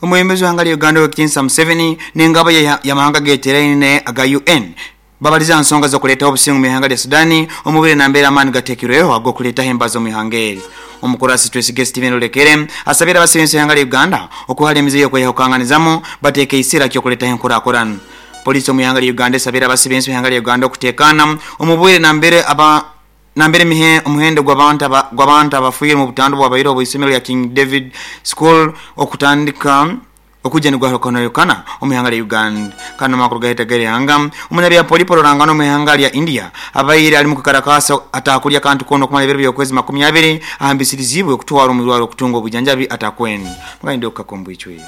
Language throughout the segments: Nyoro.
Omwebembezi w'ihanga lya Uganda Owekitinisa Museveni n'engabo y'amahanga ageteraine aga UN babalize aha nsonga z'okuleetaho obusinge omu ihanga lya Sudan omu bwire nambere amaani gateekirweho ag'okuleetaho embazo omu ihanga eri. Omukurasi Twesige Steven Olekere asabire abasibe ensi y'ihanga lya Uganda okuhara emize y'okweyahukanganizamu bateeke eisira ky'okuleetaho enkurakurana. Poliisi omu ihanga lya Uganda esabire abasibe ensi y'ihanga lya Uganda okuteekaana omu bwire nambere aba Nambere omuhendo gw'abantu abafiire omu butandu obwabaireho obw'eisomero lya King David School okutandika okwija nigwahukanaahukana omu ihanga lya Uganda. Kandi n'amakuru gaheta g'eihanga, omunabyapolipo ruranganwa omu ihanga lya India abaire ali mukwekalakaasa ataakulya kantu koona okumara ebiro by'okwezi 20 ahambisiriziibwe okutwarwa omu irwariro okutunga obwijanjabi atakwenda. Mugandi okukaka omu bwicwire.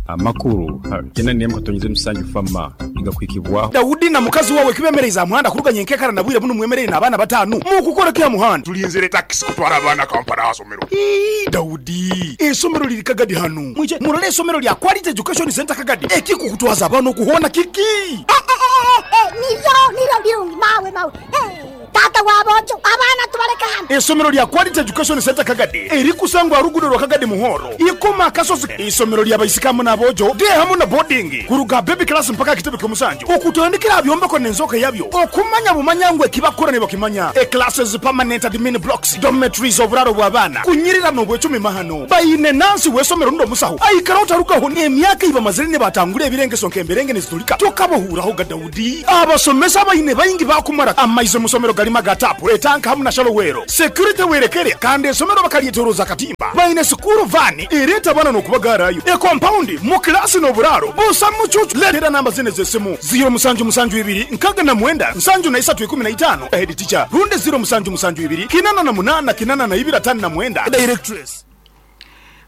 Amakuru 8.7 FAMA nigakuhikibwaho. Daudi na mukazi wawe kibemereize aha muhanda kuruga nyenkekara na bwire bunu mwemereire n'abaana batanu. Mukukora ki aha muhanda? Tulinzire takisi kutwara abaana Kampala aha somero. Ii, Daudi, eisomero liri Kagadi hanu. Mwije murole eisomero lya Quality Education Centre Kagadi. Ekikukutwaza abaana oku hoona kiki? Eh, eh, eh, eh, niryo, niryo birungi, mawe, mawe, eh. Taata w'aboojo, abaana tubaleke hanu. Eisomero lya Quality Education Centre Kagadi erikusangwa aha ruguudo rwa Kagadi Muhoro, Ikoma Akasozi. Eisomero lya baisiki hamu n'aboojo, day hamu na boarding, kuruga aha baby class mpaka aha kitebe ky'omusanju, okutandikira aha byombeko n'enzooka yabyo, okumanya bumanya ngu ekibakukora nibakimanya. E Classes, permanent admin blocks, dormitories, oburaaro bw'abaana, kunyirira n'obwecumi mahano. Baine nansi w'eisomero rundi omusaho aikaraho tarugaho n'emyaka ei bamazire nibatangura ebirengeso nk'emberenge nizitulika tokabahuurahoga. Daudi. Abasomesa abaine baingi baakumara amaizi omu somero galimu aga taapu, etanka hamu na shallow well. Security werekere kandi esomero bakalyetoroza akatimba. Baine sikuuru vaani ereeta abaana n'okubagaarayo. Ekompaundi mu kilaasi n'oburaaro busa mucuucu. Leetera namba zinu ez'esimu, ziiro musanju musanju ibiri 69 73 15, Head teacher, rundi ziiro musanju musanju ibiri 88 82 59, Directress.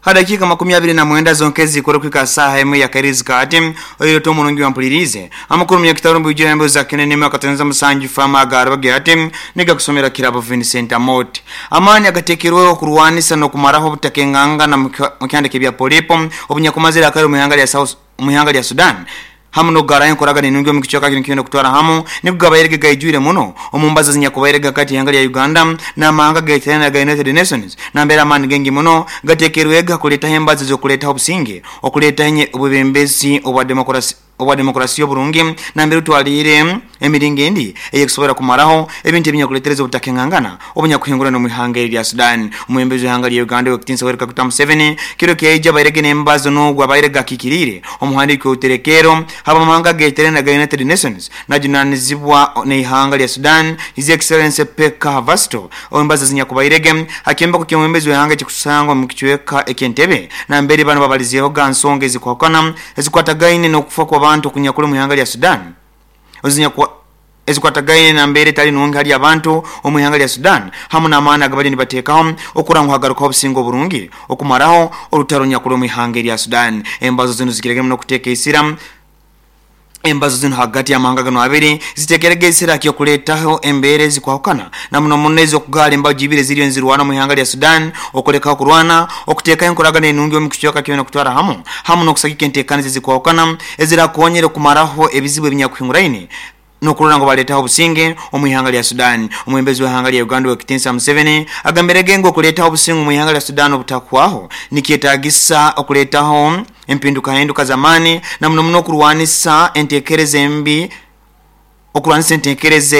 Ha dakiika 29 zonka ezikora okuhika saaha emwe ya kairizi kaati, oire ota omurungi wampuliriize. Amakuru munyakitaro omu bwijwire embeho za Kene n'emwe akatoneza musanju Farmer agaarabage ati nigakusomera Kirabo Vincent Amooti. Amaani agateekerweho okurwanisa n'okumaraho obutakengangana mu kyanda ky'ebya polipo obunyakumazire akaire omu ihanga lya South omu ihanga lya Sudan hamu n'okugaraho enkoragana enungi omu kicweka kinu kyona okutwara hamu nigo gabairege gaijwire muno omu mbazo ezinyakubairege hagati y'ihanga lya Uganda n'amahanga ageterane aga United Nations nambere amaani gaingi muno gatekerwege ha kuleetaho embazo ez'okuleetaho obusinge, okuleetaho obwebembezi obwa demokurasi obwa demokurasiya oburungi nambere otwaliire emiringo endi ey'ekusobora kumaraho ebintu ebinyakuletereza obutakengangana obunyakuhingurana omu ihanga eri erya Sudan. Omwebembezi w'ihanga lya Uganda Owekitinisa Yoweri Kaguta Museveni kiro kyaija abairege n'embazo n'ogu abairege akiikiriire omuhandiiki w'oruterekeero habw'amahanga ageterane aga United Nations najunanizibwa n'eihanga lya Sudan His Excellency Pekka Havasto embazo ezinyakubairege ha kyombeko ky'omwebembezi w'ihanga ekikusangwa omu kicweka eky'Entebbe nambere banu babalizeehoga ha nsonga ezikwahukana ezikwatagaine n'okufa kw'abantu okunyakuli omu ihanga lya Sudan ezikwatagaine na mbeera etali nungi hali abantu omu ihanga lya Sudan hamu n'amaani agabaliyo nibateekaho okurora ngu hagarukaho obusinge oburungi okumaraho orutaro orunyakuli omu ihanga erya Sudan. Embazo zinu zikiregere muno kuteeka isira Embazo zinu hagati y'amahanga ganu abiri zitekerege isira ky'okuleetaho embeera ezikwahukana na muno muno ez'okugaara embaju ibiri eziriyo nizirwana omu ihanga lya Sudan, okulekaho kurwana, okuteekaho enkoragana enungi omu kicweka kyona kutwara hamu, hamu n'okusagika enteekaniza ezikwahukana ezirakonyera okumaraho ebizibu ebinyakuhinguraine n'okurora ngu baleetaho obusinge omu ihanga lya Sudan. Omwebembezi w'ihanga lya Uganda Owekitinisa Museveni agambirege ngu okuleetaho obusinge omu ihanga lya Sudan obutakuhwaho nikyetaagisa okuleetaho empindukahinduka z'amaani na muno muno okurwanisa entekereza embi, okurwanisa entekereza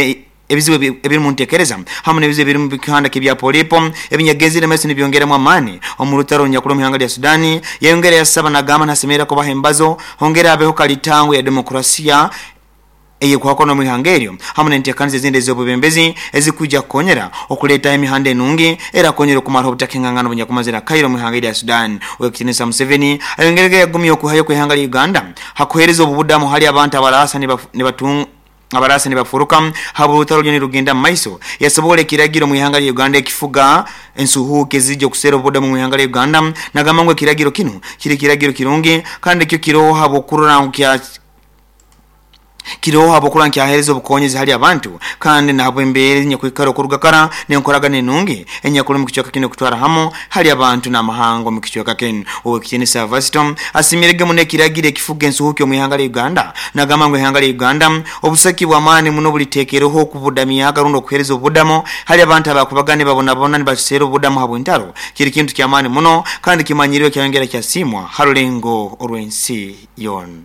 ebizibu ebiri mu ntekereza hamu n'ebizibu ebiri mu kihanda ky'ebya polipo ebinyagenzire maiso nibyongeramu amaani omu rutaro orunyakuli omu ihanga lya Sudan. Yayongera yasaba nagamba nhasemerra kubaho embazo hongere habeho kalitango ya demokrasiya ey'ekuhakana omu ihanga eryo hamu n'enteekaniza ezindi ez'obwebembezi ezikwija kukonyera okuleetaho emihanda enungi erakonyera okumaraho obutakengangana obunyakumazire akaire omu ihanga erya Sudan. Owekitinisa Museveni ayongerege yagumya okwihayo kw'ihanga lya Uganda hakuheereza obubudamu hali abantu abaraasa abaraasa nibafuruka habw'orutaro ruriyo nirugenda mu maiso. Yasoboora ekiragiro omu ihanga lya Uganda ekifuga ensuhuuki ezija okuseera obubudamu omu ihanga lya Uganda nagamba ngu ekiragiro kinu kiri kiragiro kirungi kandi kyo kiroho habw'okurora ngu kya. Kiroho habwokuba nkyahereza obukonyezi hali abantu kandi nahabwa embeera enyakwikara okurugakara n'enkoragana enungi enyakuli omu kicweka kinu okutwara hamu hali abantu n'amahanga omu kicweka kinu. Owekitinisa Vasto asimirege muno ekiragiro ekifuga ensuhuki omu ihanga lya Uganda, nagamba ngu ihanga lya Uganda obusaki bw'amaani muno buliteekereho okubudamyaga rundi okuheereza obudamo hali abantu abakubaga nibabonabona nibaseera obudamu habw'entaro. Kiri kintu ky'amaani muno kandi kimanyiriwe kyayongera kyasimwa ha rulengo orw'ensi yoona.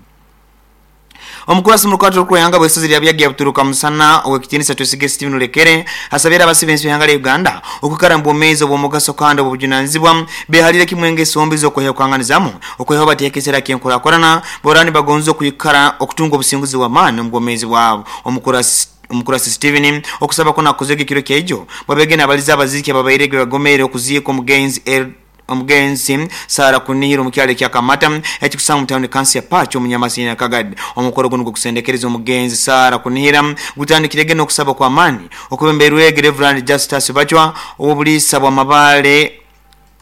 Omukurasi mu rukwata orukwehanga bw'esozi lya Byagi yabuturuka musana owekitinisa Twesige Steven Olekere asabira abasibe ensi y'ihanga lya Uganda okwikara mu bwomeezi obw'omugaso kandi obw'obujunanizibwa behalire kimwe engeso mbi z'okweheukanganizamu okwehaho bateeka esera ky'enkurakurana borani bagonza okwikara okutunga obusinguzi bw'amaani omu bwomeezi bwabo. Omukurasi Steven okusaba kuno akozege ekiro kyaijo bwabege n'abaliza abaziiki ababairege bagomere okuziika omugenzi Sara Kunihira omu kyalo ekya Kamata ekikusanga mu tawuni kansi ya Pacho omunyamasi ya Kagadi. Omukoro guno gw'okusendekereza omugenzi Sara Kunihira gutandikirege n'okusaba kw'amaani okubemberwege Reverend Justus Bachwa ow'obuliisa bw'amabale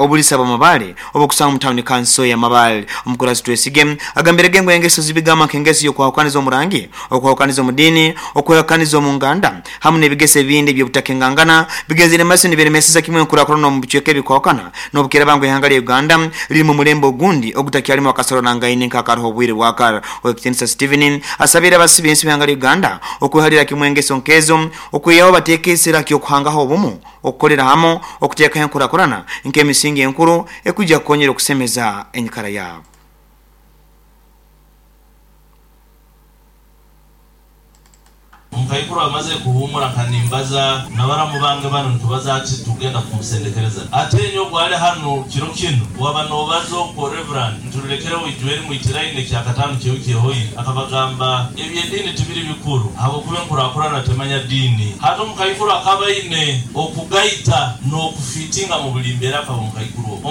obulisa bw'amabale obukusanga mu tawuni kanso ya Mabale. Omukurasi Twesige agambirege ngu engeso zibigamba nk'engeso y'okwahukaniza omurangi, okwahukaniza omu diini, okwehakaniza omu nganda hamu n'ebigeso ebindi eby'obutakengangana bigenzere maiso nibiremeseza kimwe enkurakurana omu bicweka ebikwahukana n'obukiraba ngu ihanga lya Uganda liri mu mulembe ogundi ogutakyalimu akasoranangaine nk'akaroho obwire bwakara. Owekitinisa Steven asabire abasibe ensi b'ihanga lya Uganda okwehalira kimwe engeso nkezo okwihaho bateeka esera ky'okuhangaho obumu, okukolera hamu, okuteekaho enkurakurana nk'emisingi enkuru ekwijja kukonyera okusemeza enyikara yaabo. Omukaikuru amaze kuhumura nkanimbaza nabaramu bange banu nitubaza ati tugenda kumusendekereza. Ate enyo gwali hanu kiro kinu waba nobaza okwo Reverend nturulekereho ijweri mwitiraine kyakatano kyewiki ehoire akabagamba eby'ediini tibiri bikuru ahabwokuba enkurakurana temanya diini. Hati omukaikuru akaba aine okugaita n'okufitinga mu buli mbeera akaba omukaikuru ogwo.